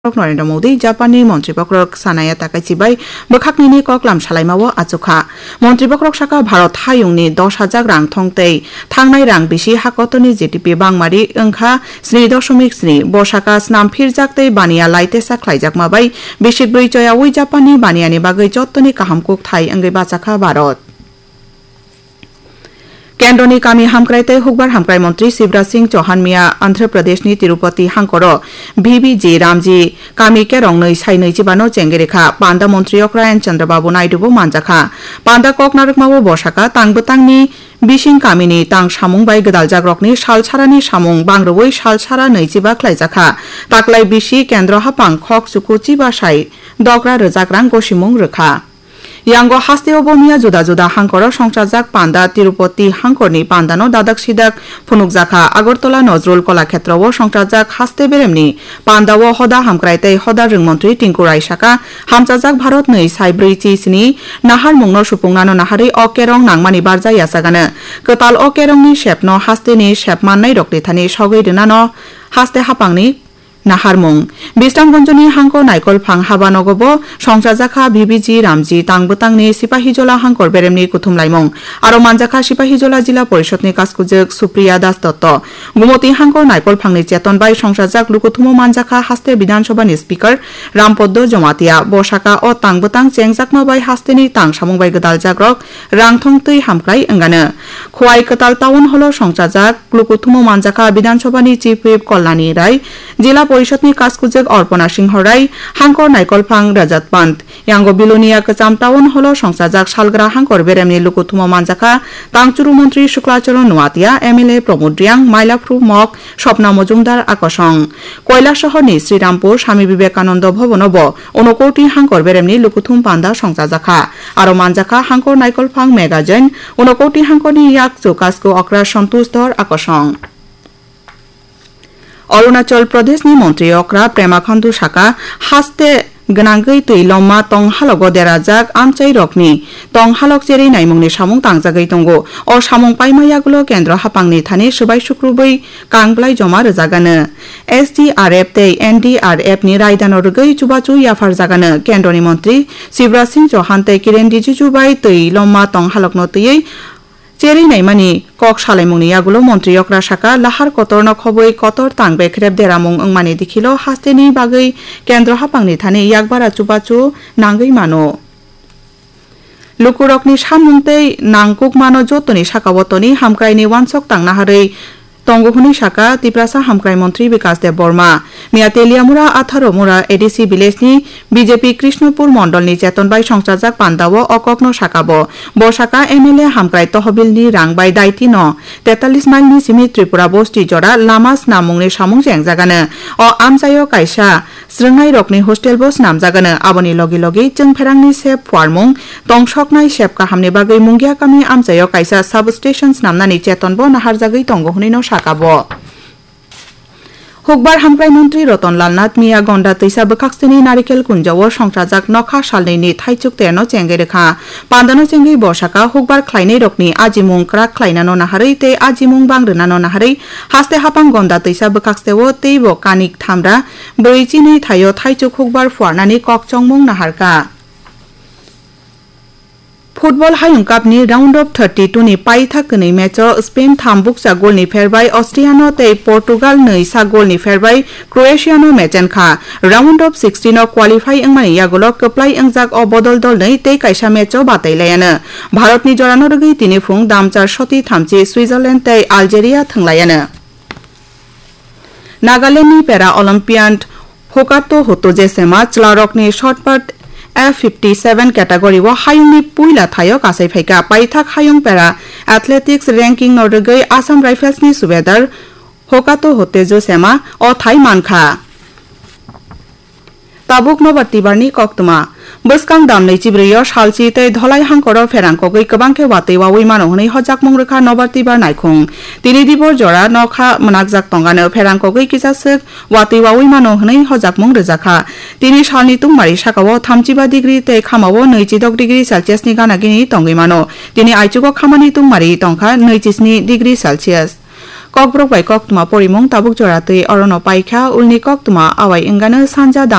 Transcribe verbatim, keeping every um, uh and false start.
Narendra Modi, Japanni Montri Bokhorok Sanae Takaichi bai bwkhaknini koklam salaimao achukha. Montri Bokhorok saka Bharat hayungni dos hajar rang thong tei thangnai rang bisi hakotorni G D P bangmari wngkha sni dosomik sni. Bo saka snam phirjak tei baniya laitesa khlaijakma bai bisik brwi choyaui Japanni baniyani bagwi jottoni kaham kukthai wngwi bachakha Bharat. Kendroni kami hamkrai tei hukbar hamkrai montri Shivraj Singh Chauhan miya Andhra Pradeshni Tirupati hangkoro B B G Ramji kami kerong nwi sai nwi chibano chengwi rikha. Panda montri okra N Chandrababu Naidu bo manjakha. Panda kok narwkmao bo saka tang bwtangni bising kamini tang samung bai gwdaljakrokni salsarani samung bangrwui salsara nwi chiba khlaijakha. Taklai bisi kendro haphang khok chuku chiba sai dogra rwjak rang gosimung rwkha. Yango hasteo bo miya juda juda hangkoro songchajak panda Tirupati hangkorni pandano dadak sidak phunukjakha. Agartala Nazrul Kalakshetrao songchajak haste beremni pandao hoda hamkrai tei hoda rwngmontri Tinku Rai saka, hamchajak Bharatni sai brwi chi sini naharmungno supungnano naharwi o kerong nangmani barja yachagano. Kwtal o kerongni sepno hasteni sep mannairokni thani sogwi rwnano haste haphangni naharmung. Bisramganjni hangko Naikolphang habanogo bo songchajakha B B G Ramji tang bwtangni Sipahijola hangkor beremni kuthumlaimung. Aro manjakha Sipahijola Jila Porishadni kaskujwk Supriya Das Dotto. Gumoti hangko Naikolphangni cheton bai songchajak lukuthumo manjakha haste Bidhan Sabhani Speaker Rampoddo Jamatia. Bo saka o tang bwtang chengjakma bai hasteni tang samung bai gwdaljakrok rangthong twi hamkrai wngano. Khowai Kwtal Town Hall-o songchajak lukuthumo manjakha Bidhan Sabhani Chief Whip Kalyani Rai, Jila Porishadni kaskujwk Arpana Singho Rai, hangkor Naikolphang Rajat Pant. Yango Bilonia Kwcham Town Hall-o songchajak salgra hangkor beremni lukuthumo manjakha Tangchuru Montri Shukla Charan Noatia, M L A Pramod Reang, Mailaphru Mok, Swapna Majumdar Akosong. Koilasohorni Srirampur Swami Vivekananda Bhavan-o bo unokoti hangkor beremni lukuthum panda songchajakha. Aro manjakha hangkor Naikolphang Magazine, unokoti hangkorni yak chukasko okra Santosh Dhar Akosong. Arunachal Pradeshni Montri okra Pema Khandu saka, haste gwnangwi twi lomma tong halogo derajak amchairokni tong halok cherwi naimungni samung tangjagwi tongo. O samung paima yagulo kendro haphangni thani swbai sukrubwi kang bwlai joma rwjagano. S D R F tei N D R F ni raidano rwgwi chubachu yapharjagano. Kendroni montri Shivraj Singh Chauhan tei Kiren Rijiju bai twi lomma tong halokno twiwi cherwi naimani kok salaimungni yagulo montri okra saka, lahar kotorno khobwi kotor tang bekrep deramung wngmani dikhilo hasteni bagwi kendro haphangni thani yakbara chubachu nangwi mano. Lukurokni samung tei nangkukmano jotoni sakao toni hamkraini uansok tangna harwi tongo hwnwi saka Tiprasa Hamkrai Montri Bikas Debbarma. Miya Teliamura Atharomura A D C village ni B J P Krishnopur mondolni cheton bai songchajak pandao o kokno saka bo. Bo saka M L A hamkrai tohobilni rang bai daitino tetallis mile ni simi Tripura bosti jora lama snamungni samung chengjagano. O amchaio kaisa Srwngnairokni hostel bo snamjagano, aboni logi logi chwngpherangni sep phuarmung, tongsoknai sep kahamni bagwi Mungia kami amchaio kaisa substation snamnani cheton bo naharjagwi tongo hwnwi no saka bo. Hukbar hamkrai montri Ratan Lal Nath miya Gonda twisa bwkhakseni Narikel Kunjao songchajak nokha salnwini thaichuk terno chengwi rwkha. Pandano chengwi bo saka hukbar khlainairokni ajimung kwrak khlainano naharwi tei ajimung bang rwnano naharwi haste hapang Gonda twisa bwkhakseo teibo kanik thamra Brwi chini thaio thaichuk hukbar phuarnani kok chongmung naharkha. Football Hayung Cup ni round of thirty-two ni paithak kwnwi match o Spain tham bukcha goal ni pherbai Austria no tei Portugal nwi sak goal ni pherbai Croatia no mechenkha. Round of sixteen o qualify wngmani yagulo kwplai wngjak o bodol dolnwi tei kaisa match o batailayano. Bharat ni jorano rwgwi tini phung damchar soti thamchi Switzerland tei Algeria thwnglayano. Nagaland ni Para Olympian Hokato Hoto Jesema chwlarokni shot put F fifty-seven category o hayungni puila thaio kasai phaikha. Paithak hayung Para Athletics ranking no rwgwi Assam Rifles ni subedar Hokato Hoto Jesema o thai mankha. Tabuk Nobar Tibar ni koktwma. Bwskang dam nwichibrwi o salchi tei dholai hangkoro pherang kogwi kwbang khe watwi wawi mano hwnwi hojakmung rwkha Nobar Tibar naikhung. Tini dibor jora nokha mwnakjak tongano pherang kogwi kisa swk watwi wawi mano hwnwi hojakmung rwjakha. Tini salni tungmari sakao thamchiba degree tei khamao nwichidok degree Celsius ni gana gini tongwi mano. Tini aichugo khamani tungmari tongkha nwichi sni degree Celsius. Kokborok bai koktwma porimung tabuk jora twi orono paikha, ulni koktwma awai wngano sanja dam.